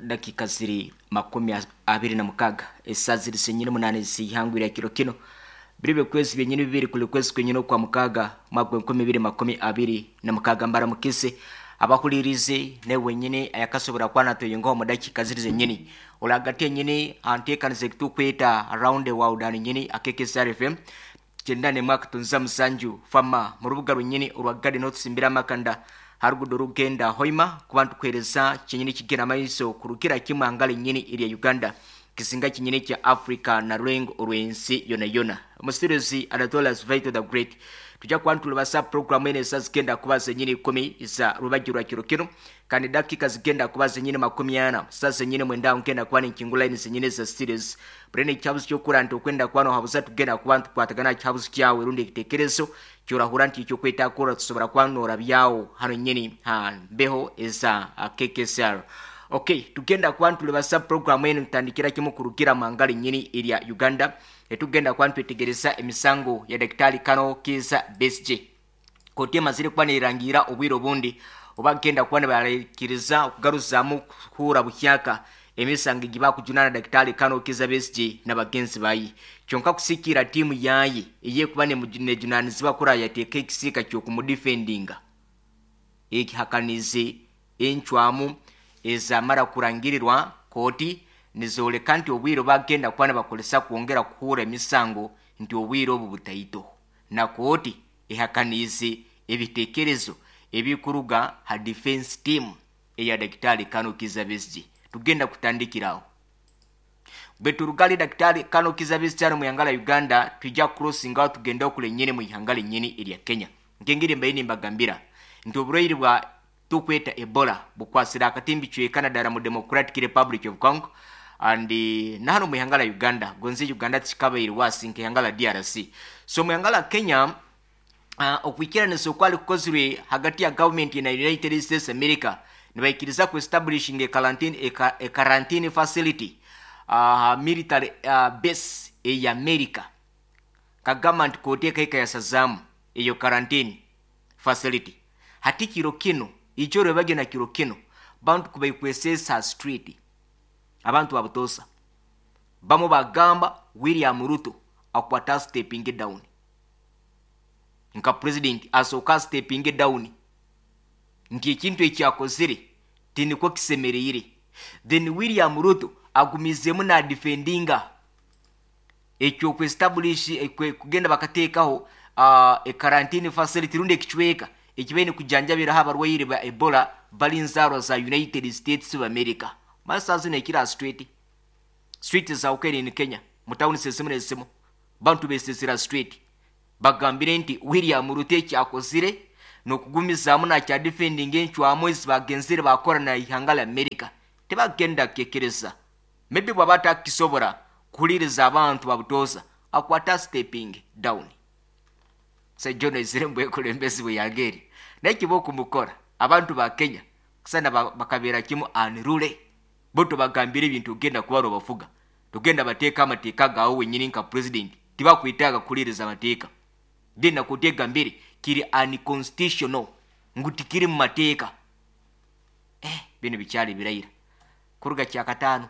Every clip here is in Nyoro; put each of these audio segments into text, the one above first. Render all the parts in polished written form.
Dakika ziri 26, esaa ziri zenyini 8 zihangwire kiro kino, biri bikwezi byenyini 2 kuli kwezi kwenyini okwa 6 mwaka 2026. Mbaramukize abahulirize ne wenyini ayakasobora kwana toyingaho mu dakika ziri zenyini olagati yenyini anteekanize tukweta around the world ano nyini akekesr FM 97.7 fama mu rubuga rwenyini orwa Garden otusimbira amakanda harugudo rugenda Hoima kuba ntukuhereza kyenyini kigenda maiso kurukira kimwe angala nyini erya Uganda, kisinga kinyini kya Africa na rwengo orwensi yona yona. Musirizi Anatolas Vito the Great, tujja kuba ntulubasa programu ene esa zigenda kuba zenyini 10 za rubagi rwa kiro kino, kandi dakika zigenda kuba zenyini 40 sa zenyini 9 ngenda kuba ninkingula ine zenyini za series burene ekyabuzi kyokura nti okwenda kuba nohabuza tugenda kuba ntukwatagana kyabuzi kyawe rundi ekitekerezo kyorahura nti ekyokwetakura tusobora kuba norabyawo hano nyini ha mbeho eza KKSR. Okay, tugenda kuba ntulibasa programu eno ntandikira kimu kurugira mangala nyini erya Uganda, etugenda kuba ntwetegereza emisango ya Daktari Kano Kiza Besigye. Kooti emazire kuba nerangira obwire obundi obagenda kuba nibarekiriza okugaruzaamu kuhura buhyaka emisango egi bakujunana Daktari Kano Kiza Besigye n'abagenzi baye. Kyonka kusikira tiimu yaye eyekuba nejunanizibwa kura yateeka ekisiika ky'okumudifendinga ekihakanize encwamu ezamara kurangirirwa kooti nizoleka nti obwire bagenda kuba nibakozesa kwongera kuhura emisango nti obwire obu butaito, na kooti ehakaniize ebitekerezo ebikuruga ha defense team eya Daktari Kano Kiza Besigye. Tugenda kutandikiraho bwe turugale Daktari Kano Kiza Besigye mu ihanga la Uganda, twijja crossinga tugenda okule nyini mu ihanga lenyini erya Kenya. Nkengeri mbaye nimbagambira nti oburwaire bwa tukweta Ebola bukwasira akatimbi cwekana ddala mu Democratic Republic of Congo and nahano mu ihanga la Uganda, gonze Uganda tikikabaire wasi nk'ihanga la DRC. So mu ihanga la Kenya, okwikiranisa okwali kukozirwe hagati ya government na United States America, nibaikiriza ku establishing a quarantine facility military base eya America. Kagamba nti kooti ekaika yasazaamu eyo quarantine facility. Hati kiro kino ichoro bagena kiro kino bantu kubaikwesesa street, abantu babutosa bamo bagamba William Ruto akwata stepping down nka president, asooka stepping down nti ekintu ekyakozire tiniko kisemereire. Then William Ruto agumizemu na defendinga ekyo establish kugenda bakateekaho a quarantine facility rundi ekicweka ekibaine kujanjabiraho abarwaire ba Ebola bali nzaarwa za United States of America. Masa zino ekira street street za ukeri in Kenya mu town sezimu nezimu bantu besesera street bagambire nti William Ruto ekyakozire n'okugumizaamu nakya defending encwamu ezi bagenzire bakora na ihanga la America tebagenda kukekereza. Maybe bwaba atakisobora kuhuliriza abantu babutoza akwata stepping down. Sejono ezire mbwekulembezi bwe yageri naye kiba okumukora abantu ba Kenya kusana bakabeera kimu anirule bo tobagambire ebintu ogenda kuba bafuga togenda bateeka amateeka gaawe wenyini nka president tibakwetaaga kuhuliriza amateeka. Genda kuteega mbere kiri unconstitutional ngu tikiri mu mateeka. Bino bikyali birayira kuruga kyakataano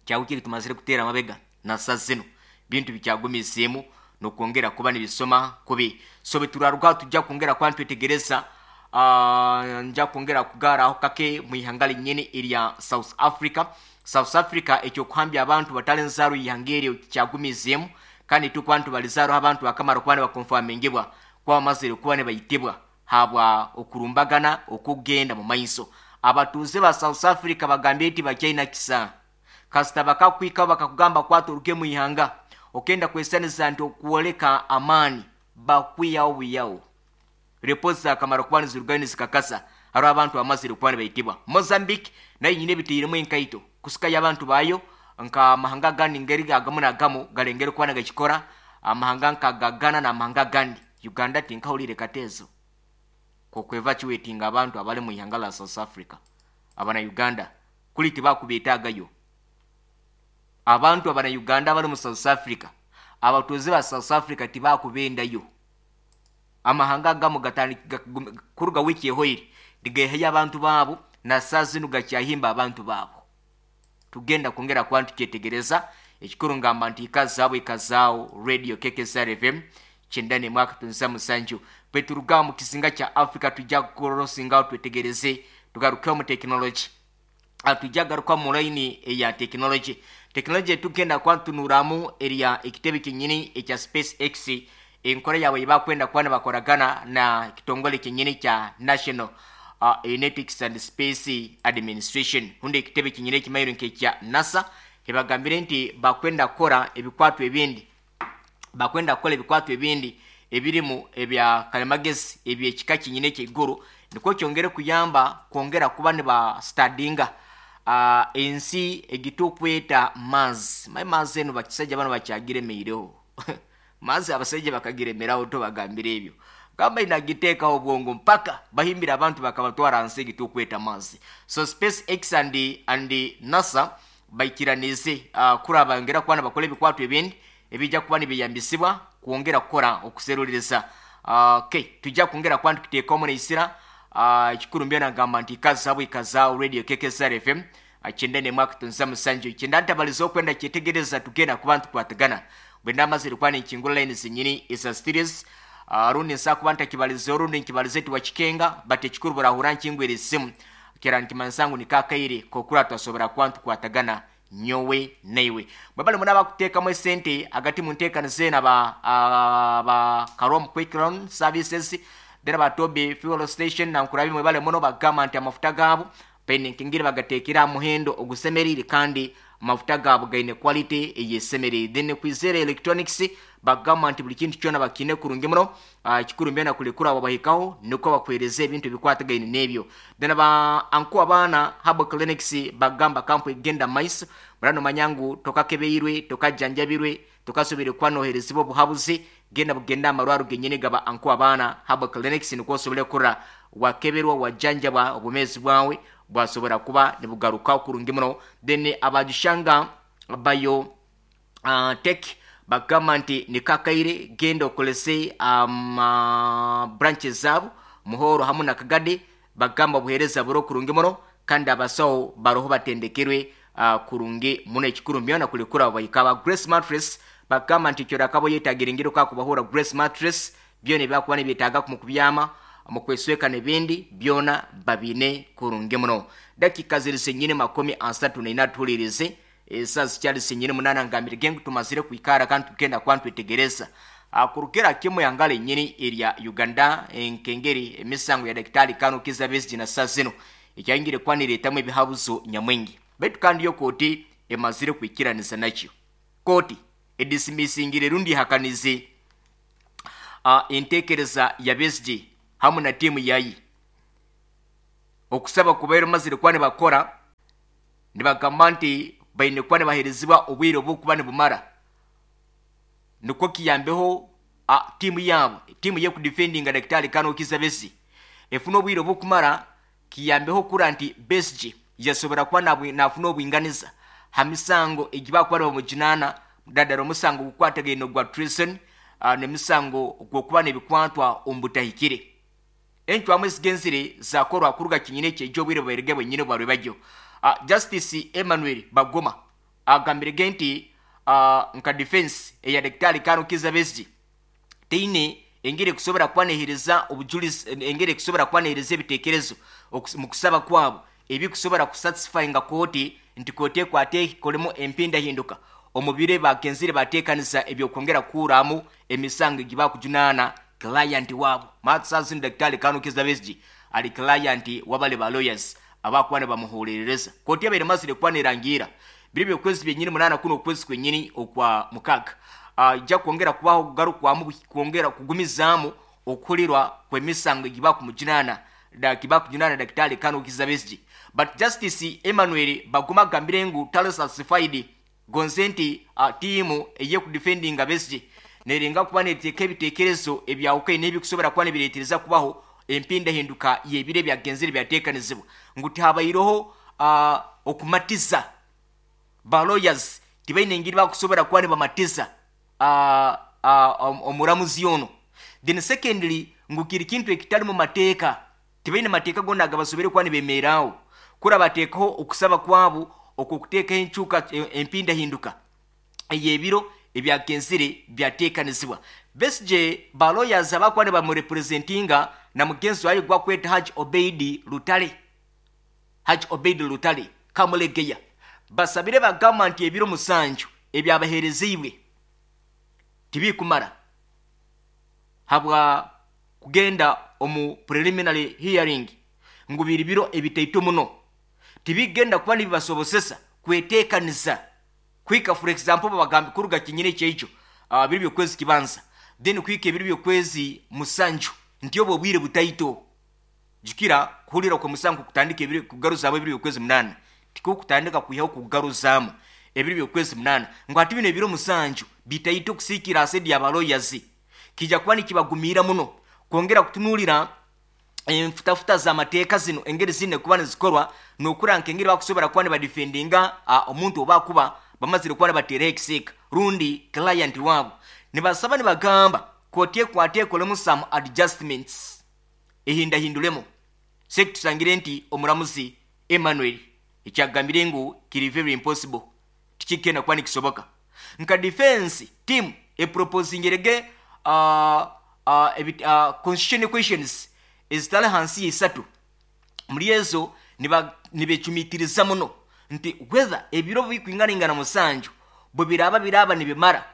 kyawikiri tumazire kuteera amabega nasa zino bintu bikyagumizeemu nokwongera kuba nibisoma kubi. So beturaruga tujja kwongera kuba ntwetegereza, nja kwongera kugaraho kake mu ihanga linyini erya South Africa. South Africa ekyokuhambya abantu batali nzaaro ihanga eryo kyagumizeemu, kandi tukuba ntubalizaaro abantu bakamara kuba nibakonfamingibwa kuba bamazire kuba nibaitibwa habwa okurumbagana okugenda mu maiso. Abatuuze ba South Africa bagambye nti bakyaina kisa kasita bakakwikaho bakakugamba kwata oruge mu ihanga okenda kwesaniza nti okwoleka amaani bakwiyawo buyawo. Repoti zakamara kuba nizirugayo nizikakasa hariho abantu bamazire kuba nibaitibwa. Mozambique nayo nyine ebiteiremu enkaito kusikayo abantu bayo nka amahanga agandi ngeri agamu nagamu galengere kuba nagakikora amahanga nka Gagana n'amahanga agandi. Uganda tinkahulire katezo kokwevacuatinga abantu abali mu ihanga la South Africa. Abana Uganda kuli tibakubetagayo abantu abana Uganda abali mu South Africa, abatuuze ba South Africa tibakubendayo. Amahanga agamu kuruga wiki ehoire nigehayo abantu baabo na saa zinu gakyahimba abantu baabo. Tugenda kwongera kuba ntukyetegereza. Ekikuru ngamba nti ikazaawo, ikazaawo Radio KKSR FM 91.7. Bwe turuga mu kizinga kya Africa, tujja kurosingaho twetegereze, tugarukeho mu tekinologi. Tujja garuka mu layini eya tekinologi. Tekinologi tugenda kuba ntunuramu erya ekitebe kyenyini ekya Space X, enkora yaabwe yebakwenda kuba nibakoragana na kitongole kyenyini kya National Aeronautics and Space Administration, hundi ekitebe kyenyini ekimayiro nk'ekya NASA. Hebagambire nti bakwenda kukora ebikwatwa ebindi, bakwenda kukora ebikwatwa ebindi ebirimu ebya kalimagezi ebyekika kyenyini ekyeiguru, nikwo kyongere kuyamba kwongera kuba nibastadinga ensi egitukweta Mars. Mai Mars eno bakisajja bano bakyagiremeireho. Mars abasajja bakagiremeraho, tobagambire ebyo gamba inagiteekaho obwongo mpaka bahimbira abantu bakabatwara nsi egitukweta Mars. So Space X and NASA baikiranize kuraba ngera kuba nibakora ebikwatwa ebindi ebijja kuba nibiyambisibwa kwongera kukora okuseruliriza. Okay, tujja kwongera kuba ntukiteekamu neisira. Ekikuru mbyo nagamba nti ikazaawo, ikazaawo Radio KKSR FM 91.7. Kyenda ntabaliza okwenda kyetegereza, tugenda kuba ntukwatagana bwe ndamazire kuba ninkingura line zenyini eza series. Rundi nsa kuba ntakibalize, orundi nkibalize tiwakikenga, but ekikuru burahura nkingwira esimu kera nkimanisa ngu nikakaire kokura twasobora kuba ntukwatagana nyowe naiwe. Bwe bali muna bakuteekamu esente hagati mu nteekaniza eno, aba Karom Quick Loan Services, then aba Toby Fuel Station nankurabi, mwebale muno. Bagamba nti amafuta gaabo baine nkengeri bagateekera aha muhendo ogusemerire, kandi amafuta gaabo gaine quality eyesemerire. Then Kwizera Electronics bagamba nti buli kintu kyona bakiine kurungi muno. Ekikuru mbyona kulekura abo bahikaho nikwo bakuhereza ebintu ebikwatagaine n'ebyo. Then aba Anku Abaana Herbal Clinics bagamba kampu egenda maiso murano manya ngu tokakebeirwe, tokajanjabirwe, tokasobire kuba noherezibwa obuhabuzi, genda bugenda amarwaro genyini gaba Anku Abaana Herbal Clinics, nikwo osobole kurra wakeberwa, wajanjabwa, obumezi bwawe bwasobora kuba nibugaruka kurungi muno. Then abagishanga Bayo Tech bagamba nti nikakaire genda okolese branches zaabo Muhoro hamu na Kagadi. Bagamba obuheereza buri kurungi muno, kandi abasawo baroho batendekerwe kurungi muno. Ekikuru mbyona kulekura bahika. Ba Grace Mattress bagamba nti kyorakabo yetagira engeri okakubahura Grace Mattress, byona ebyakuba nibyetaaga mu kubyama, mu kwesweka n'ebindi byona babine kurungi muno. Dakika ziri senyini 34, tuhulirize esaa zikyali senyini 8. Ngambire gengu tumazire kwikara kandi tugenda kuba ntwetegereza kurukira kimu yangala enyini erya Uganda, enkengeri emisango ya Daktari Kano Kiza Besigye na saa zino ekyayingire kuba nireetamu ebihabuzo nyamwingi. Baitu kandi yo kooti emazire kwikiraniza nakyo. Kooti edisimisingire rundi ihakanize entekereza ya Besigye hamu na tiimu yayi okusaba kubaire mazire kuba nibakora, nibagamba nti baine kuba nibaherezibwa obwire obukuba nibumara nikwo kiyambeho tiimu yaabo, tiimu yekudefendinga Daktari Kano Kiza Besigye, efuna obwire obukumara kiyambeho kura nti Besigye yasobora kuba nafuna obwinganiza ha misango egibakuba nibamujunana, daddala omusango gukwatagaine ogwa treason, n'emisango gw'okuba n'ebikwatwa omu butahikire. Encwamu ezigenzire zakorwa kuruga kinyine ekyejo obwire bwairege bwenyine bwarwe bajyo. Justice Emmanuel Bagoma agambire nti nka defense eya Daktari Kano Kiza Besigye teine engeri ekusobora kuba nehereza obujulizi, engeri ekusobora kuba nehereza ebitekerezo mu kusaba kwabo ebikusobora kusatisfyinga kooti, nti kooti ekwate ekolemu empindahinduka omu biro bagenzire bateekaniza ebyokwongera kuhuramu emisango egibakujunaana client waabo. Matsazini Daktari Kano Kiza Besigye ali client wabale ba lawyers abakuba nibamuhurerereza. Kooti yabaire mazire kuba nerangira biri byokwezi byenyini 8 kuno okwezi kwenyini okwa 6 ijja kwongera kubaho kugarukwamu, kwongera kugumizaamu okuhulirwa kw'emisango egibakumujunana kibakujunana Daktari Kano Kiza Besigye. But Justice Emmanuel Baguma agambire ngu tali satisfied gonze nti tiimu eyekudefendinga Besigye nerenga kuba neteeka ebitekerezo ebyawukaine n'ebikusobora kuba nibireetereza kubaho empindahinduka y'ebiro ebyagenzire byateekanizibwa, ngu tihabaireho okumatiza ba lawyers, tibaine engeri bakusobora kuba nibamatiza omuramuzi ono. Then secondly, ngu kiri kintu ekitali mu mateeka, tibaine mateeka gona agabasobere kuba nibemeraawo kura bateekaho okusaba kwabo. Okwokuteekaho enkyuka empindahinduka ey'ebiro ebyagenzire byateekanizibwa. Besigye, ba lawyers abakuba nibamurepresentinga na mugenzi wayo gwakweta Haji Obeidi Lutale, Haji Obeidi Lutale Kamulegeya, basabire bagamba nti ebiro 7 ebyabaheereziibwe tibikumara habwa kugenda omu preliminary hearing, ngu biri biro ebitaito muno, tibigenda kuba nibibasobosesa kweteekaniza kwika. For example, babagambi kuruga kinyine ekyeikyo biri byokwezi kibanza, then kwika ebiro byokwezi 7, nti obwo obwire butaito. Jukira kuhulira kwemusango kutandika ebiro kugaruzaamu ebiro byokwezi 8, tikukutandika kwihaho kugaruzaamu ebiro byokwezi 8, ngu hati bino ebiro 7 bitaito kusiikira asedi y'abaloyazi, kijja kuba nikibagumiira muno kwongera kutunuulira enfutafuta z'amateeka zino engeri zine kuba nizikorwa n'okura nk'engeri bakusobora kuba nibadefendinga omuntu oba kuba bamazire kuba nibateeraho ekisiika rundi client waabo. Nibasaba nibagamba kooti ekwate ekolemu some adjustments, ehindahindulemu. Sekitusangire nti omuramuzi Emmanuel ekyagambire ngu kiri very impossible, tikigenda kuba nikisoboka. Nka defense team eproposingirege constitutional questions ezitali hansi y'isatu. Muri ezo nibecumitiriza muno nti whether ebiro bikwinganingana 7 bwe biraba biraba nibimara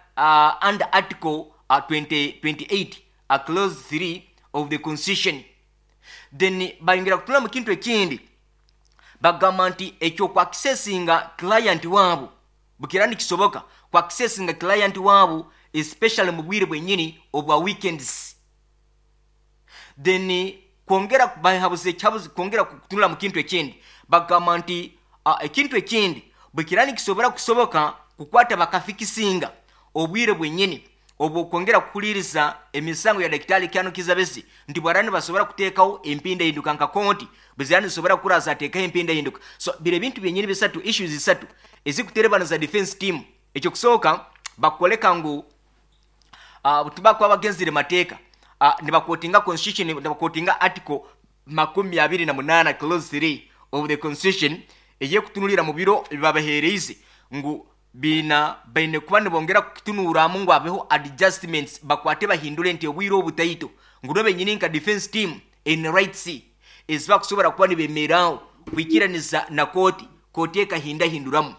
under article 20, 28 clause 3 of the constitution. Then bayongera kutula mu kintu ekindi, bagamba nti ekyo kwakisesinga client waabo bukira nikisoboka kwakisesinga client waabo, especially mu bwire bwenyini obwa weekends. Then kwongera bahabuze ekyabuze, kwongera kutunula mu kintu ekindi, bagamba nti ekintu ekindi bwekira nikisobora kusoboka kukwata bakafikisinga obwire bwenyini obwo kwongera kukuliriza emisango ya Daktari Kyano Kizza Besigye, nti bwarani basobora kuteekawo empindahinduka nka konti bwezirani zisobora kuraza ateekaho empindahinduka. So biro ebintu byenyini bisatu, issues isatu ezikuterebana za defense team. Ekyo kusooka bakoleka ngu tubakuba bagenzire mateeka, nibakotinga constitution, nibakotinga article 28 clause 3 of the constitution eyekutunulira mu biro bibabaheereize, ngu bina baine kuba nibongera kutunuuramu ngu abeho adjustments, bakwate bahindule nti obwire obutaito, ngu no benyini nka defense team in rights ezibakusobora kuba nibemeraawo kwikiraniza na kooti, kooti ekahindahinduramu.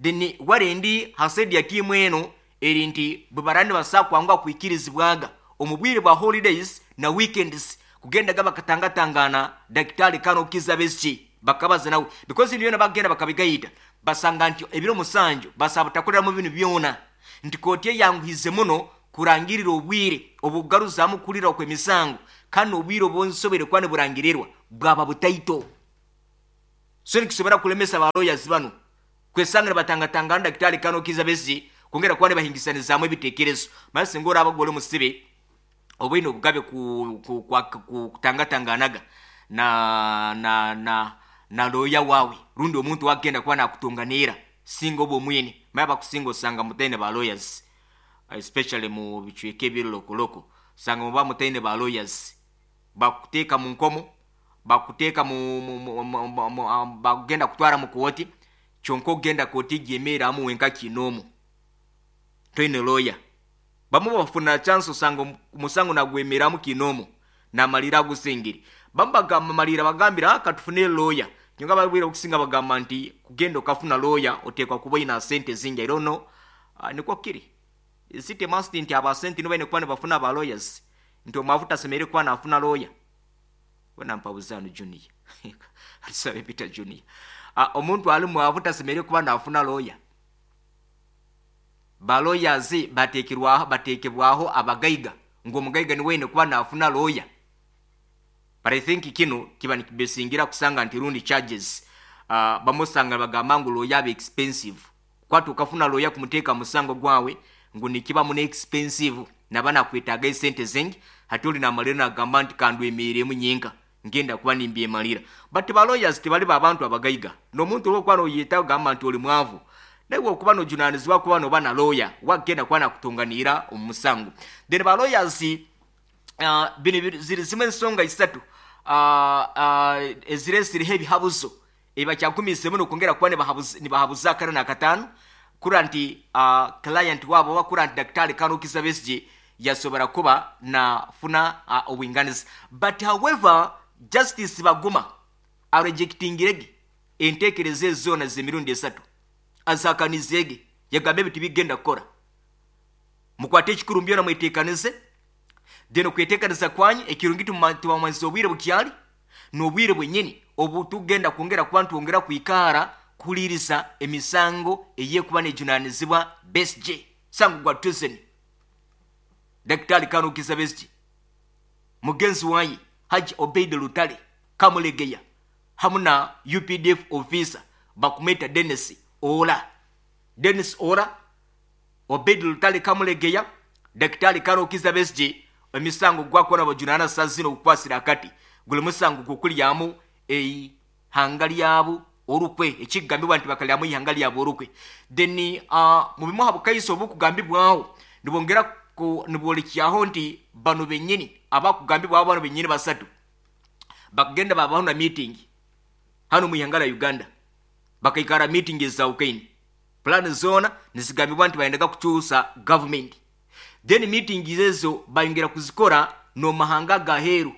Then warendi hasedi ya tiimu eno eri nti bwe barani basaa kwangwa kwikirizibwaga omu bwire bwa holidays na weekends kugendaga bakatangatangana Daktari Kano Kizza Besigye bakabaza nawe, because ibintu byona bagenda bakabigayita, basanga nti ebiro 7 basaba butakoreramu binu byona, nti kooti eyanguhize muno kurangirira obwire obugaruzamu kulira okw'emisango, kandi obwire obunsobere kuba niburangirirwa bwaba butaito. So nikisobora kulemesa ba lawyers bano kwesanga nibatangatangana Daktari Kano Kizza Besigye kwongera kuba nibahingisanizaamu ebitekerezo. Mara singa oraba gwe oli musibe obaine obugabe kutangatanganaga na lawyer wawe rundi omuntu wagenda kuba nakutunganira, singa oba omwine. Mara bakusinga osanga mutaine ba lawyers, especially mu bicweka ebirokoloko, osanga muba mutaine ba lawyers, bakuteeka mu nkomo, bakuteeka mu bagenda kutwara mu kooti, kyonka ogenda kooti gyemeeramu wenka kinoomu toine lawyer. Bamu bafuna chance, osanga omusango nagwemeramu kinoomu namalira agusingire. Bamu bagamba malira bagambira katufune lawyer, kyonka babwira okusinga bagamba nti kugenda okafuna lawyer oteekwa kuba oyina sente zingi. I don't know, nikwo kiri, is it a must nti aba sente nibo baine kuba nibafuna ba lawyers, nti omwavu tasemereire kuba nafuna lawyer? Wena mpabuzaano Junior atusabe Peter Junior, omuntu ali mwavu tasemereire kuba nafuna lawyer? Ba lawyers bateekebwaho abagaiga, ngu omugaiga niwe aine kuba nafuna lawyer. But I think kino kiba nikibesingira kusanga nti rundi charges, bamusanga bagamba ngu lawyer abe expensive, kwata okafuna lawyer kumuteeka musango gwawe ngu nikiba mune expensive, naba nakwetaaga esente zingi. Hati oli namalira nagamba nti kandwemeremu nyinka ngenda kuba nimbyemalira. But ba lawyers tebali babantu abagaiga, n'omuntu olwokuba noyeta ogamba nti oli mwavu, naye okuba nojunanizibwa kuba noba na lawyer wagenda kuba nakutunganira omu musango. Then ba lawyers, bino ziri zimwe ensonga isatu eziresireho ebihabuzo. Ebakyagumiizemu nokwongera kuba nibahabuza akana nakataano kura nti client wabo oba kura nti Daktari Colonel Kizza Besigye yasobora kuba nafuna obwinganiza. But however, Justice Baguma arejectingirege entekereza ezo zoona z'emirundi esatu, azihakanizeege, yagamba ebi tibigenda kukora. Mukwate ekikuru byona mwetekanize, then okwetekaniza kwanyu ekirungi tubamanyisa obwire bukyali n'obwire bwenyini obu tugenda kwongera kuba ntwongera kwikara kuhuliriza emisango eyekuba nejunanizibwa Besigye, sango gwa treason. Daktari Colonel Kizza Besigye, mugenzi waye Haji Obeid Lutale Kamulegeya hamu na UPDF officer bakumeta Dennis Ola. Dennis Ola, Obeid Lutale Kamulegeya, Daktari Colonel Kizza Besigye, emisango gwakora bajunana saa zino okukwasira akati guli musango gukulyamu eihanga lyabo orukwe, ekigambibwa nti bakalyamu ihanga lyabo orukwe. Then mu bimu ha bukaiso obukugambibwaho nibongera nibwolekyaho nti bano benyini abakugambibwaho, bano benyini basatu bakagenda babaho na meeting hano mu ihanga lya Uganda, bakaikara meeting ezawukaine, plan zona nizigambibwa nti bayendaga kukyusa government. Then meeting ezo bayongera kuzikora n'omahanga gaheeru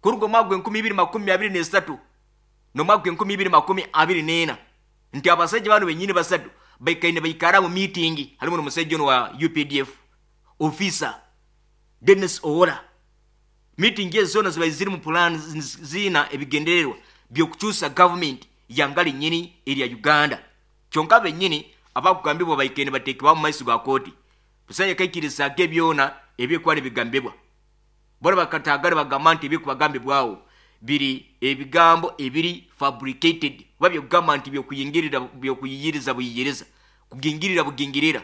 kuruga omwaka gw'enkumi ibiri makumi abiri n'esatu n'omwaka gw'enkumi ibiri makumi abiri n'ena, nti abasajja bano benyini basatu baikaine baikara mu meeting, harimu n'omusajja ono wa UPDF officer Dennis Owola. Meeting ezo zona zibaire ziri mu plan zina ebigendererwa by'okukyusa government yanga linyini erya Uganda. Kyonka benyini abakugambibwa baikaine bateekebwa mu maiso ga kooti, busajja kaikirizaage ebyona ebyekuba nibigambibwa. Bona bakatagara bagamba nti ebikubagambibwaho biri ebigambo ebiri fabricated, oba byokugamba nti byokuyingirira, byokuyiyiriza buyiyiriza, kugingirira bugingirira,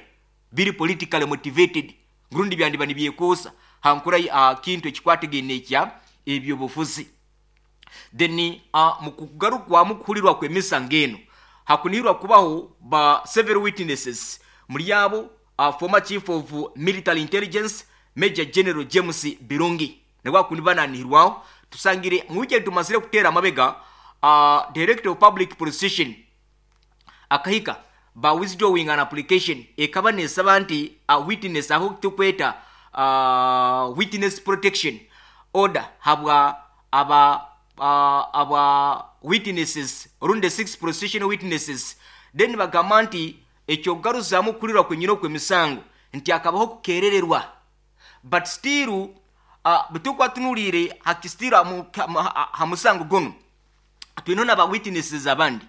biri politically motivated, ngurundi byandiba nibyekuusa hankura kintu ekikwatagaine ekya ebyobufuzi. Then mu kugarukwamu kuhulirwa kw'emisango eno hakunihirwa kubaho ba several witnesses, muri abo former chief of military intelligence Major General James Birungi nabwo akundi bananihirwaho. Tusangire mu weekend tumazire kuteera amabega, Director of Public Prosecution akahika ba withdrawing an application ekaba nesaba nti a witness aho tukweta witness protection order habwa aba witnesses rundi 6 prosecution witnesses. Then bagamba nti ekyokugaruzaamu kuhulirwa kwenyini okw'emisango nti akabaho kukerererwa, but still bitukwatunuliire hakistiro ha musango gunu twine n'aba witnesses abandi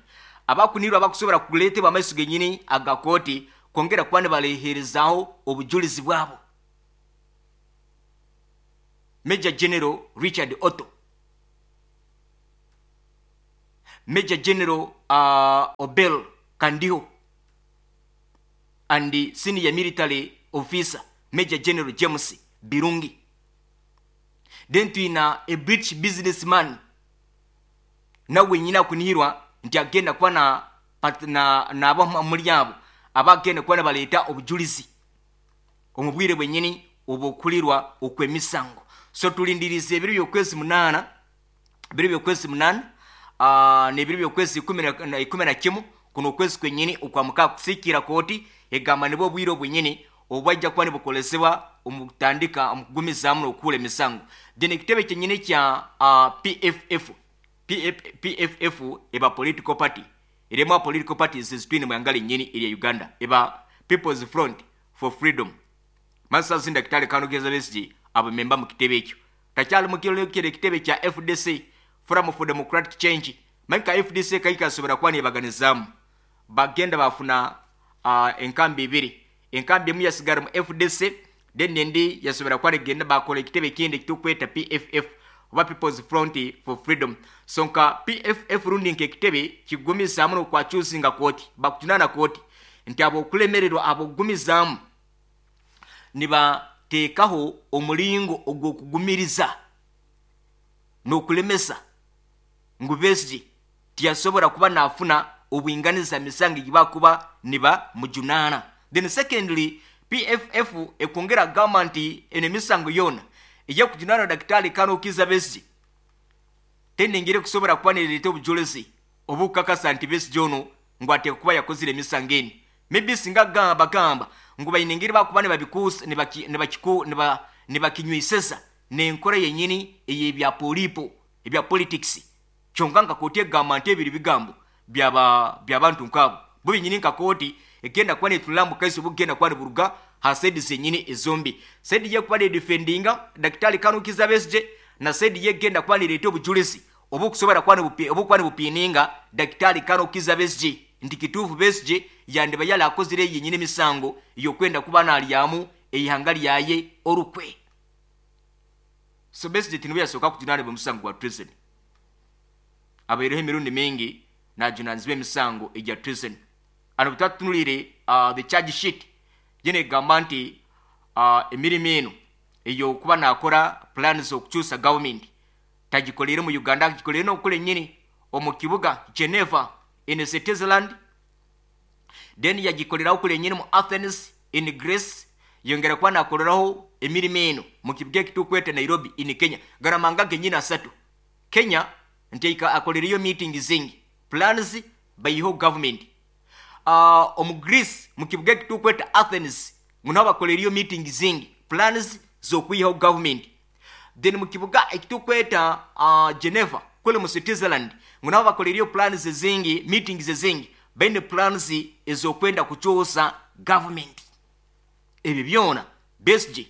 abakunirwa abakusobora kuleetebwa amaiso genyini aga kooti kwongera kuba nibaleherezaho obujulizi bwabo. Major General Richard Otto, Major General Obel Kandiho and senior military officer Major General James Birungi. Then twina a British businessman nawe nyina akunihirwa nti agenda kuba na muri abo abagenda kuba nabaleeta obujulizi omu bwire bwenyini obukulirwa okw'emisango. So tulindiriza ebiro by'okwezi munaana, ebiro by'okwezi munaana, n'ebiro by'okwezi ikumi na kimu kuno okwezi kwenyini okwa mukaaga kusiikira kooti egamba nibwo obwire obwenyini obwajja kuba nibukolesebwa omu kutandika omu kugumizaamu n'okuhura emisango. Then ekitebe kyenyini kya PFF, PFF eba political party, erimu political parties ezitwine mu ihanga linyini erya Uganda, eba People's Front for Freedom. Masazi Daktari Colonel Kizza Besigye abamemba mu kitebe ekyo takyali mu kire ekitebe kya FDC, Forum for Democratic Change. Manyi FDC kaikasobora kuba nebaganizaamu, bagenda bafuna enkambi ibiri, enkambi emu yasigara mu FDC, then endi yasobora kuba negenda bakola ekitebe ekindi ekitukweta PFF oba People's Front for Freedom. So nka PFF rundi nk'ekitebe kigumizaamu n'okwakyusinga kooti, bakujunaana kooti nti abokulemererwa abokugumizaamu nibateekaho omulingo ogw'okugumiriza n'okulemesa ngu Besigye tiyasobora kuba nafuna obwinganiza misango egibakuba niba mujunaana. Then secondly, PFF ekwongera agamba nti eno emisango yona ey'okujunaana Daktari Colonel Kizza Besigye tenengire kusobora kuba nereeta obujulizi. Obukakasa nti Besigye ono ngu ateekwa kuba yakozire emisango eni. Maybe singa bagamba ngu baine engeri bakuba nibabikuusa nibakinywiseza n'enkora yenyini ey'ebya polipo ebya politics, kyonka nka kooti egamba nti ebiri bigambo by'abantu nk'abo bo benyini. Nka kooti egenda kuba netunula mu kaiso bugenda kuba niburuga ha side zenyini ezombi, side yekuba nedefendinga Dakitari Colonel Kizza Besigye na side yegenda kuba nireeta obujulizi obukusobora kuba obukuba nibupininga Dakitari Colonel Kizza Besigye nti kituufu Besigye yandiba yali akozire yenyini emisango yokwenda kuba nalyamu eihanga lyaye orukwe. So Besigye tinuwe yasooka kujunaanibwa omusango gwa treason. Abaireho emirundi mingi najunanizibwa emisango egya treason. Ano bwetwatunulire the charge sheet gye negamba nti emirimu eno eyokuba nakora plans okukyusa government tagikolere mu Uganda, agikolere n'okukora ennyini omu kibuga Geneva in Switzerland, then yagikoleraho kule ennyini mu Athens in Greece, yongera kuba nakoleraho emirimu eno mu kibuga ekitukweta Nairobi in Kenya. Garamanga genyini asatu Kenya nti akolereyo meeting zingi, plans bayiho government. Omu Greece mu kibuga ekitukweta Athens ngu naho bakolereyo meeting zingi, plans z'okwihaho government. Then mu kibuga ekitukweta Geneva kule mu Switzerland ngu naho bakolereyo plans zingi, meetings zingi, baine plans ez'okwenda kukyusa government. Ebyo byona Besigye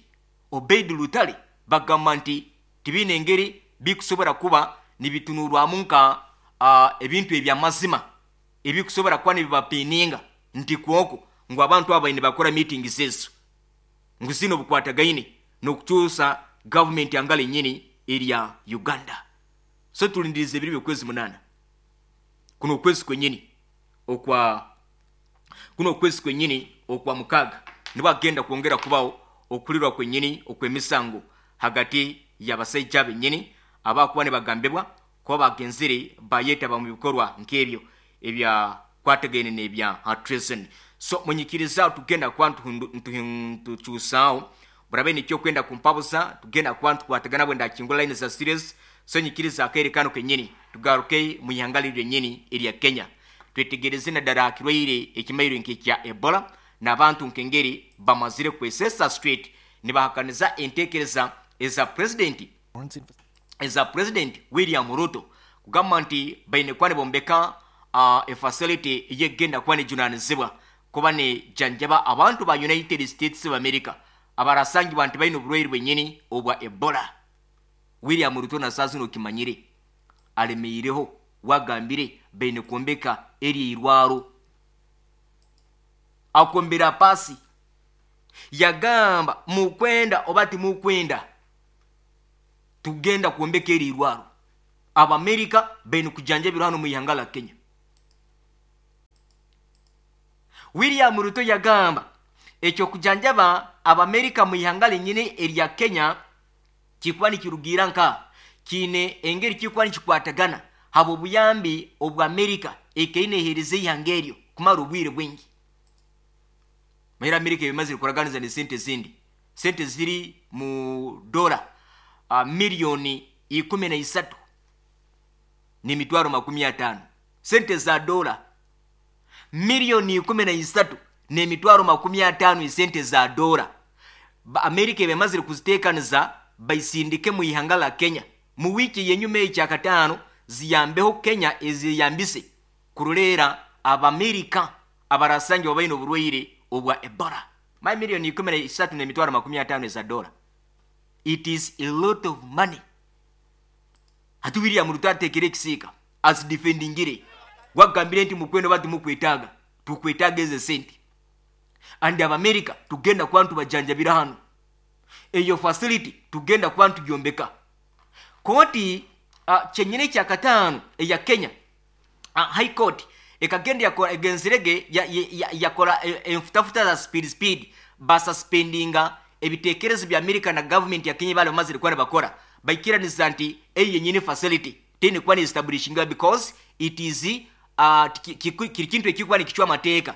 Obeid Lutale bagamba nti tibiine engeri bikusobora kuba nibitunurwamu nka ebintu ebyamazima ebikusobora kuba nibibapininga nti kwoko ngu abantu abo baine bakora meetings ezo ngu zino bukwatagaine n'okukyusa gavumenti angala enyini erya Uganda. So tulindiriza ebiro by'okwezi 8, kuno okwezi kwenyini okwa kuno okwezi kwenyini okwa 6 nibwo agenda kwongera kubaho okulirwa kwenyini okw'emisango hagati y'abasaija benyini abakuba nibagambibwa kuba bagenzire bayetaba mu bikorwa nk'ebyo ebyakwatagaine n'ebya treason. So munyikiriza tugenda kuba ntukyusaaho burabe nikyo kwenda kumpabuza, tugenda kuba ntukwatagana bwe ndakingura line za series. So nyikiriza akaire kano kenyini tugaruke mu ihanga lyenyini erya Kenya, twetegereze naddala kirwaire ekimairo nk'ekya Ebola n'abantu nk'engeri bamazire kwesesa straight nibahakaniza enteekereza eza president William Ruto kugamba nti baine kuba nibombeka efacility eyegenda kuba nejunanizibwa kuba nejanjaba abantu ba United States of America abarasangibwa nti baine oburwaire bwenyini obwa Ebola. William Ruto na saa zino okimanyire alemeireho wagambire baine kwombeka eri irwaro, akombera pasi yagamba mukwenda oba timukwenda tugenda kwombeka eri irwaro, Abamerika baine kujanjabirwa hano mu ihanga la Kenya. William Ruto yagamba ekyo kujanjaba Abamerika mu ihanga lenyini erya Kenya kikuba nikirugira nka kiine engeri kikuba nikikwatagana haba obuyambi obwa Amerika ekaine ehereza ihanga eryo kumara obwire bwingi. Mahera Amerika ebimazire kuraganiza ne sente zindi, sente ziri mu dola miliyoni 13 n'emitwaro 50, sente za dola miliyoni 13 n'emitwaro 50, esente za dola Amerika ebemazire kuziteekaniza baisindike mu ihanga la Kenya mu wiiki yenyuma ekyakataano ziyambeho Kenya eziyambise kuruleera Abamerika abarasangibwa baine oburwaire obwa Ebola. My miliyoni 13 n'emitwaro 50 eza dola, it is a lot of money. Hati William Ruto atekere ekisiika azidefendingire gwagambire nti mukwenda oba timukwetaaga tukwetaaga ezo sente, and Abamerika tugenda kuba ntubajanjabira hano, eyo facility tugenda kuba ntugyombeka. Kooti kyenyini ekyakataano eya Kenya, High Court ekagenda yakora egenzirege yakora enfutafuta za speed speed, basuspendinga ebitekerezo bya Amerika na government ya Kenya bali bamazire kuba nibakora, baikiraniza nti eyo yenyini facility tene kuba ni establishinga because it is kiri kintu ekikuba nikichwa amateeka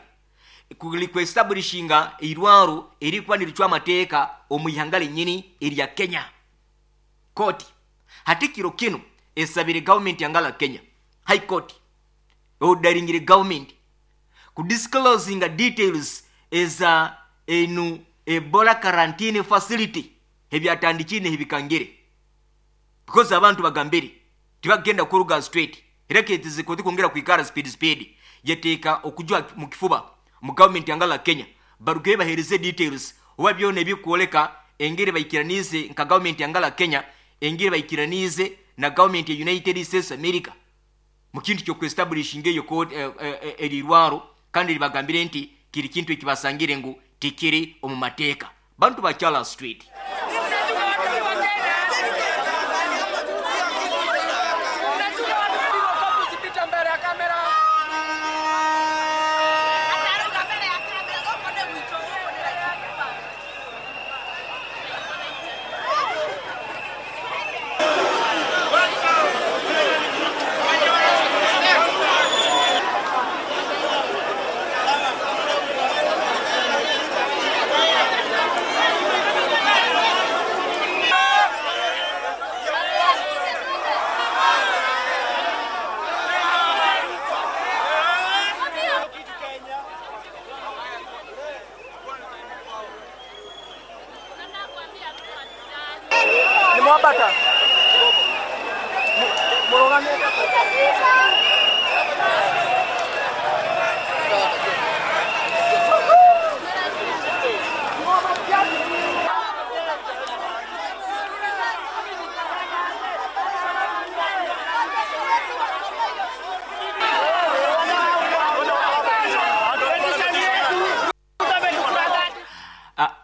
kuestablishinga irwaro erikuba nirichwa amateeka omu ihanga lenyini erya Kenya. Kooti hati kiro kino esabire government yangala Kenya High Court Ordering government kudisclosing details eza enu Ebola quarantine facility ebyatandikire ebikangire, because abantu bagambire tibagenda kuruga straight, era ketize koti kwongera kwikara speed speed, yateeka okujwa mu kifuba mu government yangala Kenya baruge bahereze details oba byona ebikwoleka engeri baikiranize nka government yangala Kenya, engeri baikiranize na government ya United States America mu kintu ky'okuestablishinga eyo code erirwaro, kandi libagambire nti kiri kintu ekibasangire ngu tikiri omu mateeka. Bantu bakyala street.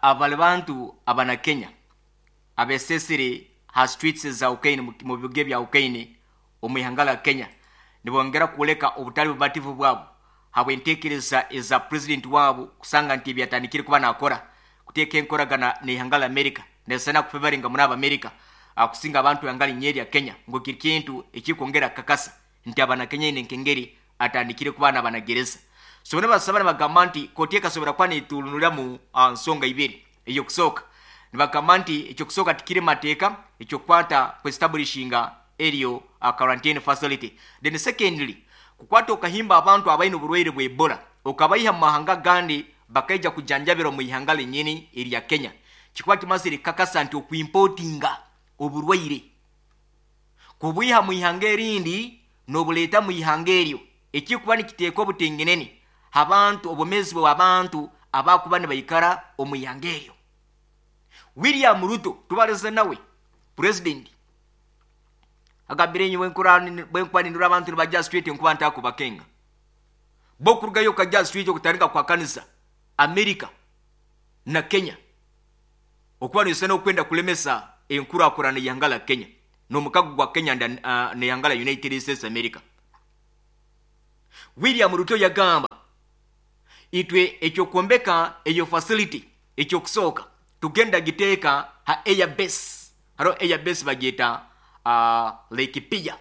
Abali bantu abana Kenya abesesire ha streets za Ukraine mu bibuga bya Ukraine omu ihanga la Kenya nibongera kuleka obutali bubativu bwabo habwentekereza eza president wabo kusanga nti byatandikire kuba nakora kuteeka enkoragana n'ihanga la America nesana kufevaringa muri America akusinga abantu yangali nyeri ya Kenya ngo kiri kintu ekikwongera kakasa nti abana Kenya ine nkengeri atandikire kuba n'abanagereza. So bano basaba bagamba nti kooti ekasobora kuba neetuunulira mu nsonga ibiri. Eyokusooka nibagamba nti ekyokusooka tikiri mateeka ekyokukwata kuestablishinga eryo quarantine facility. Then secondly, kukwata okahimba abantu abaine oburwaire bwa Ebola okabaiha mu mahanga gandi bakaija kujanjabirwa mu ihanga lenyini erya Kenya, kikuba kimazire kakasa nti okuimportinga oburwaire kubwiha mu ihanga erindi n'obuleeta mu ihanga eryo ekikuba nikiteeka obutengenene abantu obumezi bw'abantu abakuba nibaikara omu ihanga eryo. William Ruto tubaleze nawe president agambire nyowe bwenkwanindura abantu nibajja street nkuba ntakubakenga bo kurugayo kajja street okutandika kwa kanisa America na Kenya okuba nisana okwenda kulemesa enkurakurana ihanga la Kenya n'omukago gwa Kenya n'ihanga la United States America. William Ruto yagamba itwe ekyokuombeka eyo facility ekyokusooka tugenda giteeka ha air base, haro air base bagiyita Laikipia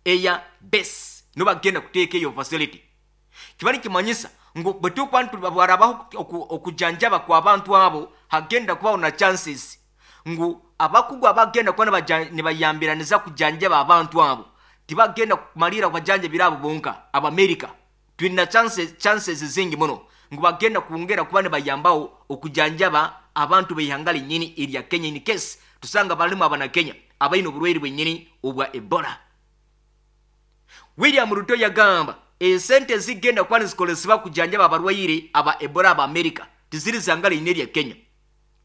air base nibo bagenda kuteeka eyo facility. Kibali kimanyisa ngu bwe tukuba bwarabaho okujanjaba kw'abantu abo hagenda kubaho na chances ngu abakugu abagenda kuba nibayambiraniza kujanjaba abantu abo tibagenda kumalira kubajanjabira abo bonka. Abamerika tulina chances zingi muno ngu bagenda kwongera kuba nibayambaho okujanjaba abantu b'ihanga linyini erya Kenya in case tusanga balimu abana Kenya abaine oburwaire bwenyini obwa Ebola. William Ruto yagamba esente zigenda kuba nizikolesebwa kujanjaba abarwaire aba Ebola aba America tiziri zanga linyini erya Kenya,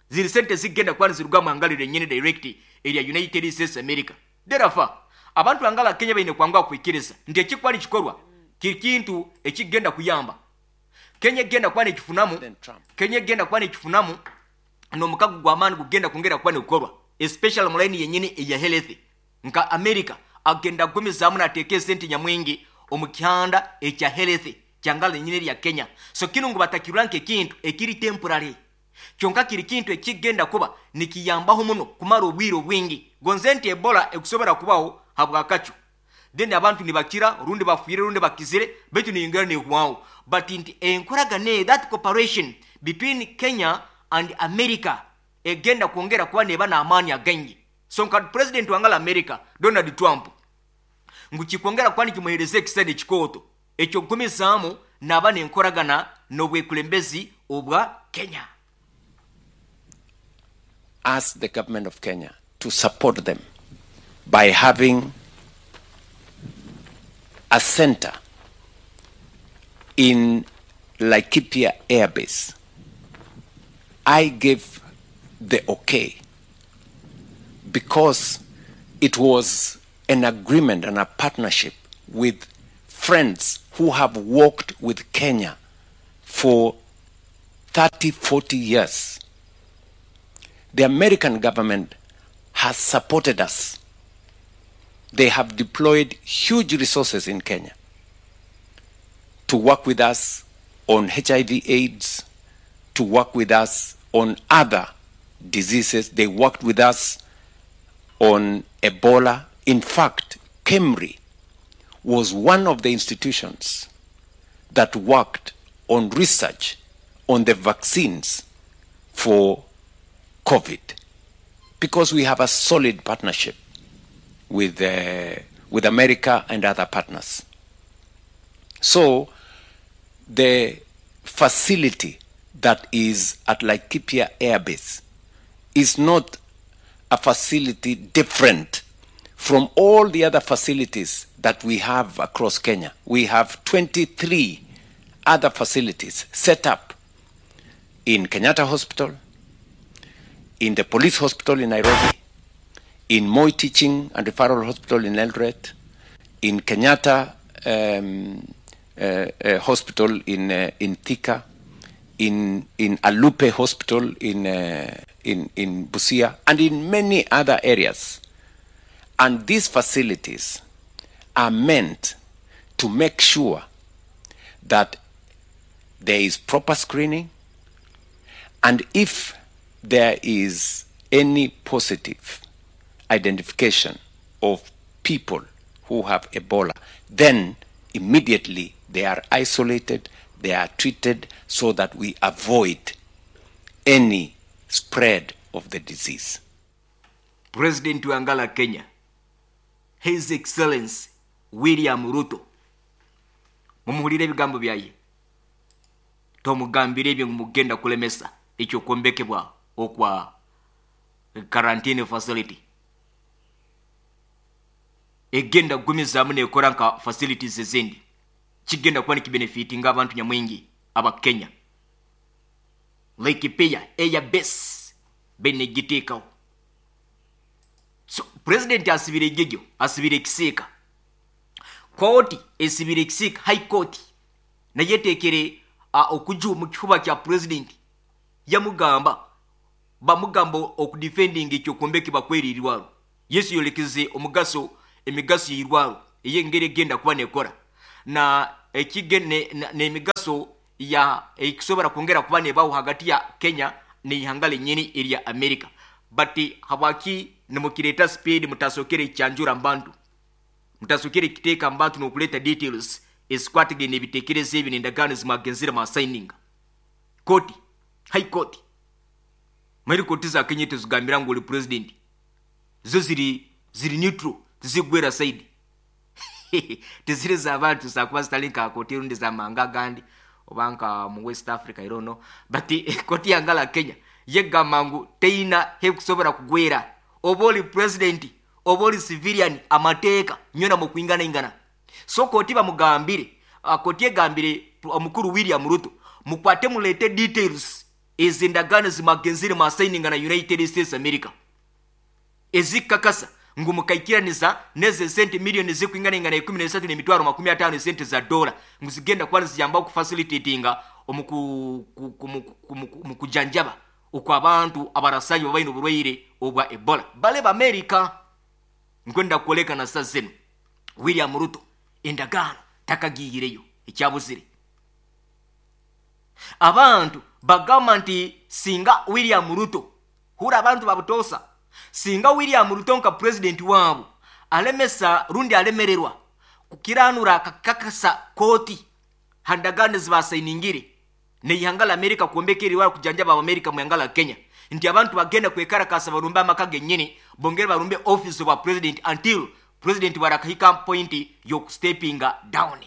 ziri sente zigenda kuba niziruga mu hanga linyini direct erya United States America. Therefore abantu bangala Kenya baine kwanguha kwikiriza nti ekikuba nikikorwa kiri kintu ekigenda kuyamba Kenya egenda kuba nekifunamu, Kenya egenda kuba nekifunamu n'omukago gw'amaani gugenda kwongera kuba nigukorwa especially mu line yenyini eya health. Nka America agenda kugumizaamu nateeka esente nyamwingi omu kihanda ekya health kyangala yenyini erya Kenya. So kinu ngu batakirura nk'ekintu ekiri temporary, kyonka kiri kintu ekigenda kuba nikiyambaho muno kumara obwire obwingi. Gonze nti Ebola ekusobora kubaho habwakacu then abantu nibakira rundi bafwire rundi bakizire baitu niyongera nehwaho, but nti enkoragana that cooperation between Kenya and America egenda kwongera kuba neba n'amaani againgi. So nka president wangala America Donald Trump ngu kikwongera kuba nikimuhereza ekisani ekikooto Eky'okugumizaamu naaba n'enkoragana n'obwekulembezi obwa Kenya. Ask the government of Kenya to support them by having a center in Laikipia Air Base. I gave the okay because it was an agreement and a partnership with friends who have worked with Kenya for 30, 40 years. The American government has supported us. They have deployed huge resources in Kenya to work with us on HIV AIDS, to work with us on other diseases. They worked with us on Ebola. In fact, KEMRI was one of the institutions that worked on research on the vaccines for COVID, because we have a solid partnership with America and other partners. So the facility that is at Laikipia Air Base is not a facility different from all the other facilities that we have across Kenya. We have 23 other facilities set up in Kenyatta Hospital, in the police hospital in Nairobi, in Moi Teaching and Referral Hospital in Eldoret, in Kenyatta Hospital in Thika, in Alupe Hospital in Busia, and in many other areas. And these facilities are meant to make sure that there is proper screening, and if there is any positive identification of people who have Ebola, then immediately they are isolated, they are treated so that we avoid any spread of the disease. President wa Ngala Kenya, His Excellency William Ruto, mumuhulire ebigambo byaye, tomugambire ebyo mugenda kulemesa ekyokombekebwa okwa quarantine facility egenda kugumizaamu nekora nka facilities ezindi, kigenda kuba nikibenefitinga abantu nyamwingi aba Kenya. Laikipia Air Base benegiteekawo. So president asibire ejejo, asibire ekisiika, kooti esibire ekisiika, high court naye eteekere okuju mu kifuba kya president, yamugamba bamugamba okudefendinga ekyokombekebwa kweriirwaro. Yesu yolekeze omugaso emigaso y'irwaro ey'engeri egenda kuba nekora na ekige n'emigaso ya ekisobora kwongera kuba nebaho hagati ya Kenya n'ihanga lenyini erya America. But habwaki nimukireta speed mutasokere kyanjura mbantu, mutasokere kiteeka mbantu n'okuleta details esikwatagene ebitekerezo ebi n'endagaano zimwagenzire mwa signing. Koti, high court, mairi koti za Kenya tezigambira ngu oli president, zo ziri neutral, tizigwera side teziri z'abantu zakuba zitali nka koti rundi za manga gandi oba nka mu West Africa, I don't know. But koti yangala Kenya yegamba ngu teina hekusobora kugwera oba oli president oba oli civilian, amateeka nyona mu kwingana ingana. So koti bamugambire, koti egambire omukuru William Ruto mukwate mulete details ez'endagaano zimagenzire mwa signing na United States America ezikakasa ngu mukaikiraniza neze sente milioni zikwingana ingana ikumi n'esatu n'emitwaro makumi ataano esente za dola ngu zigenda kuba niziyamba okufacilitatinga omu kujanjaba okw'abantu abarasanyi babaine oburwaire obwa Ebola bale b'Amerika. Nkwenda kwoleka na saa zino William Ruto endagaano takagiireyo ekyabuzire. Abantu bagamba nti singa William Ruto hura abantu babutosa, singa William Ruto nka president waabo alemesa rundi alemererwa kukiranura akakakasa kooti handagaano zibasayiningire neihanga la Amerika kuombeka eriwara kujanjaba Amerika mu ihanga la Kenya, nti abantu bagenda kwekarakasa barumbe amaka genyini bongere barumbe office wa president until president barakahika point yokustepinga down.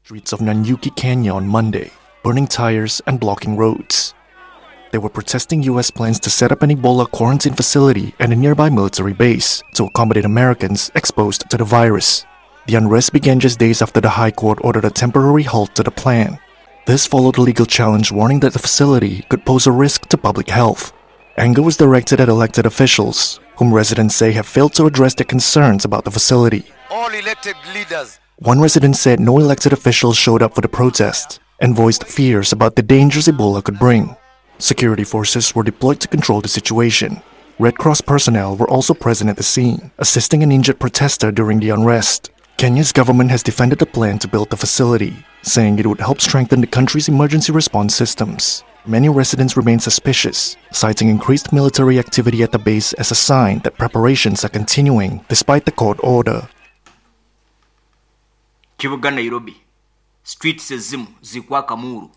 Streets of Nanyuki, Kenya on Monday, burning tires and blocking roads. They were protesting U.S. plans to set up an Ebola quarantine facility at a nearby military base to accommodate Americans exposed to the virus. The unrest began just days after the High Court ordered a temporary halt to the plan. This followed a legal challenge warning that the facility could pose a risk to public health. Anger was directed at elected officials, whom residents say have failed to address their concerns about the facility. All elected leaders. One resident said no elected officials showed up for the protest and voiced fears about the dangers Ebola could bring. Security forces were deployed to control the situation. Red Cross personnel were also present at the scene, assisting an injured protester during the unrest. Kenya's government has defended the plan to build the facility, saying it would help strengthen the country's emergency response systems. Many residents remain suspicious, citing increased military activity at the base as a sign that preparations are continuing despite the court order. Kibuga Nairobi, streets ezimu zikwaka muuro.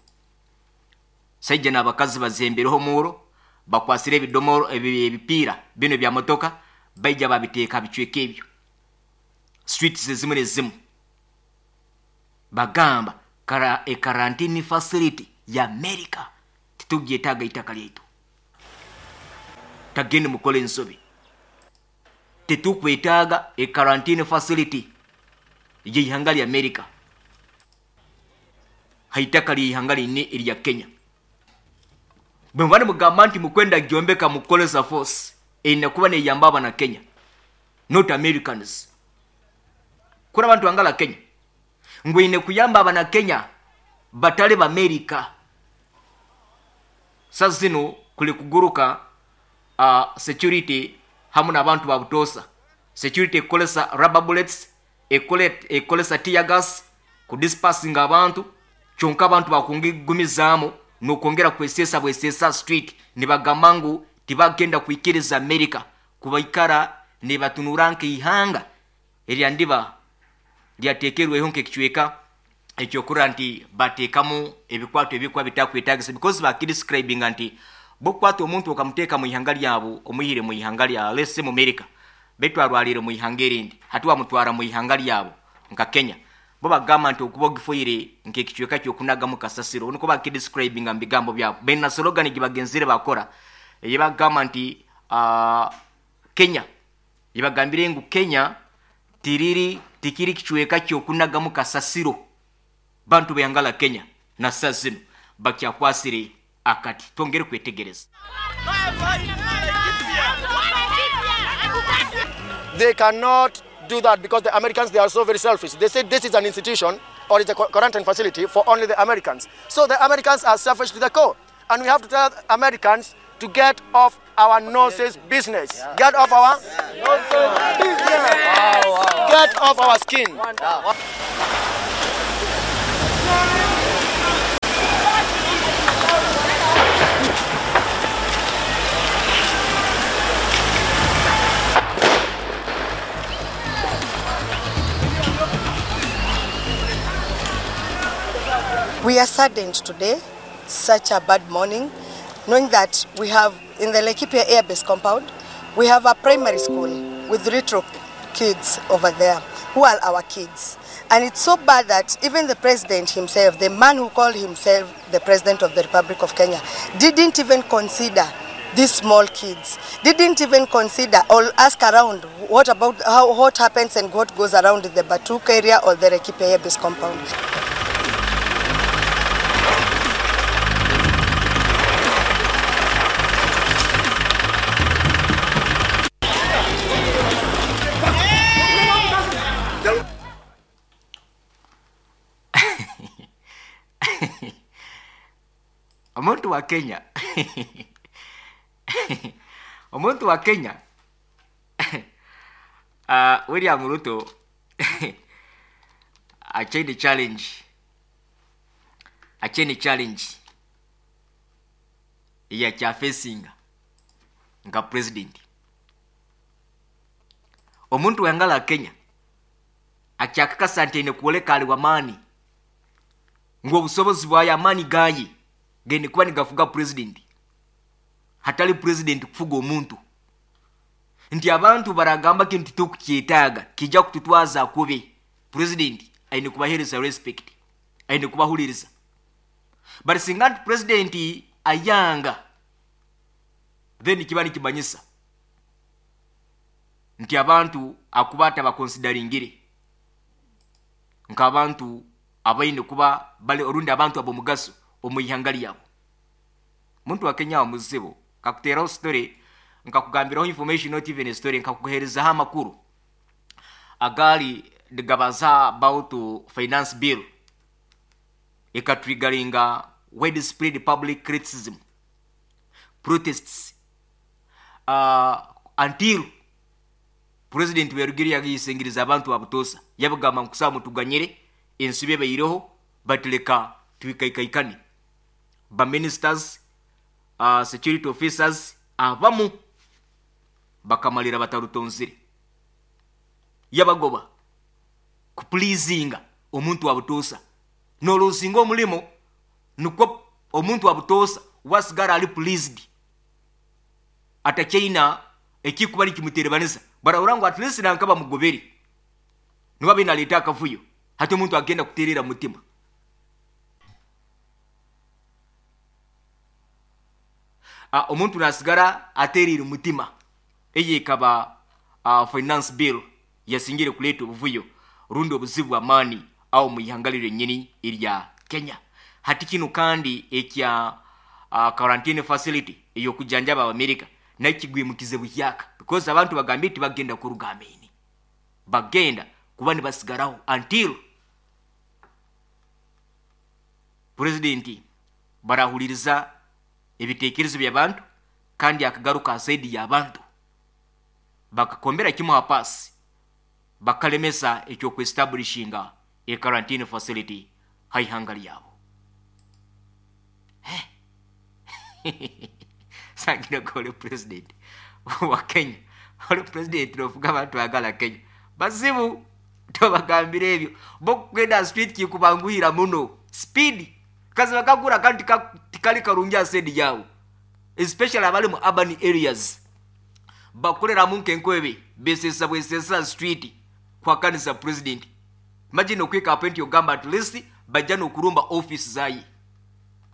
Saija n'abakazi bazembereho muuro, bakwasire ebidomoro, ebipiira bino bya motoka, baija babiteeka bicweka ebyo. Streets ezimu nezimu bagamba kara e quarantine facility ya America titugyetaaga itaka lyaitu, tagende mukole ensobi, tetukwetaaga e quarantine facility y'eihanga lya America haitaka ly'eihanga line erya Kenya. Bwe muba nimugamba nti mukwenda gyombeka mukukolesa force, erina kuba neyamba abana Kenya, not Americans. Kuri abantu bangala Kenya ngu eine kuyamba abana Kenya batali ba America. Sa zino kuli kuguruka security hamu n'abantu ba butosa. Security ekolesa rubber bullets, ekolesa tear gas ku dispersing abantu, kyonka abantu bakungigumizaamu n'okwongera kwesesa bwesesa street, nibagamba ngu tibagenda kwikiriza America kubaikara nibatunura nk'eihanga eryandiba lyateekerweho nk'ekicweka ekyokurora nti bateekamu ebikwato ebikuba bitakwetagisa, because bakidescribinga nti bokukwata omuntu okamuteeka mu ihanga lyabo, omwihire mu ihanga lya lese mu America, baitu arwalire mu ihanga erindi, hati wamutwara mu ihanga lyabo nka Kenya, bo bagamba nti okuba ogifoire nk'ekicweka kyokunagamu kasasiro, niko bakidescribinga mu bigambo byabo. Baina slogan gibagenzire bakora eyebagamba nti Kenya, yebagambire ngu Kenya tiriri tikiri kicweka kyokunagamu kasasiro. Bantu beyangala Kenya na saa zino bakyakwasire akati. Twongere kwetegereza. They cannot do that because the Americans, they are so very selfish. They say this is an institution or it's a quarantine facility for only the Americans. So the Americans are selfish to the core. And we have to tell Americans to get off our noses business. Get off our noses business. Get off our skin. We are saddened today, such a bad morning, knowing that we have in the Laikipia Air Base compound, we have a primary school with little kids over there who are our kids. And it's so bad that even the president himself, the man who called himself the president of the Republic of Kenya, didn't even consider these small kids, didn't even consider or ask around what about how what happens and what goes around in the Batuk area or the Laikipia Air Base compound. Omuntu wa Kenya omuntu wa Kenya William Ruto achaine challenge, achaine challenge yakyafesinga nga president. Omuntu wangala Kenya akyakakasa nti ene kuoleka ali wamaani ngu obusobozi bwayo amaani gaye gende kuba nigafuga president, hatali president kufuga omuntu. Nti abantu baragamba kintu tukukyetaaga kijja kututwaza kubi, president aine kubahereza respect. Aine kubahuliriza. Bari singa nti president ayanga, then kiba nikimanyisa nti abantu akuba atabakonsidaringire nk'abantu abaine kuba bali orundi abantu ab'omugaso omu ihanga lyabo. Muntu wa Kenya wa muzibu kakuteraho story, nkakugambiraho information, not even a story, nkakuherezaho amakuru agali nigabaza about finance bill ekatriggeringa widespread public criticism, protests, until president werugiri yagiyisingiriza abantu babutosa, yabagamba nkusaba mutuganyire ensibe ebaireho, batuleka twikaikaikane. Ba ministers, security officers abamu bakamalira batarutonzire, yabagoba kupleasinga omuntu wabutosa. Nolosinga omulimo nukwo omuntu wabutosa wasigara ali pleased, atakyaina ekikuba nikimuterebaniza, barahura ngu at least nanka bamugobere niba binaleta akavuyo. Hati omuntu agenda kuterera mutima. Omuntu nasigara aterire mutima. Eye ikaba finance bill yasingire kuleta obuvuyo rundi obuzibu bw'amaani awo mu ihanga lyenyini erya Kenya. Hati kino kandi ekya quarantine facility ey'okujanjaba Abamerika nakigwimukize buhyaka, because abantu bagambye nti bagenda kuruga ameni, bagenda kuba nibasigaraho until president barahuliriza ebitekerezo by'abantu kandi akagaruka asaidi y'abantu bakakombera kimu hapasi bakalemesa ekyokuestablishinga e quarantine facility haihanga lyabo. Sangira kole president wa Kenya, ole president nofuga abantu bagala Kenya bazibu, tobagambira ebyo bokugenda street kikubanguhira muno speed kazi bakagura kandi tikali karungi asedi yawo, especially abali mu urban areas bakoleramu nkenkwebe besesa bwesesa street kwa kanisa president. Imagine okwika appoint ogamba at least bajja nokurumba office zayi.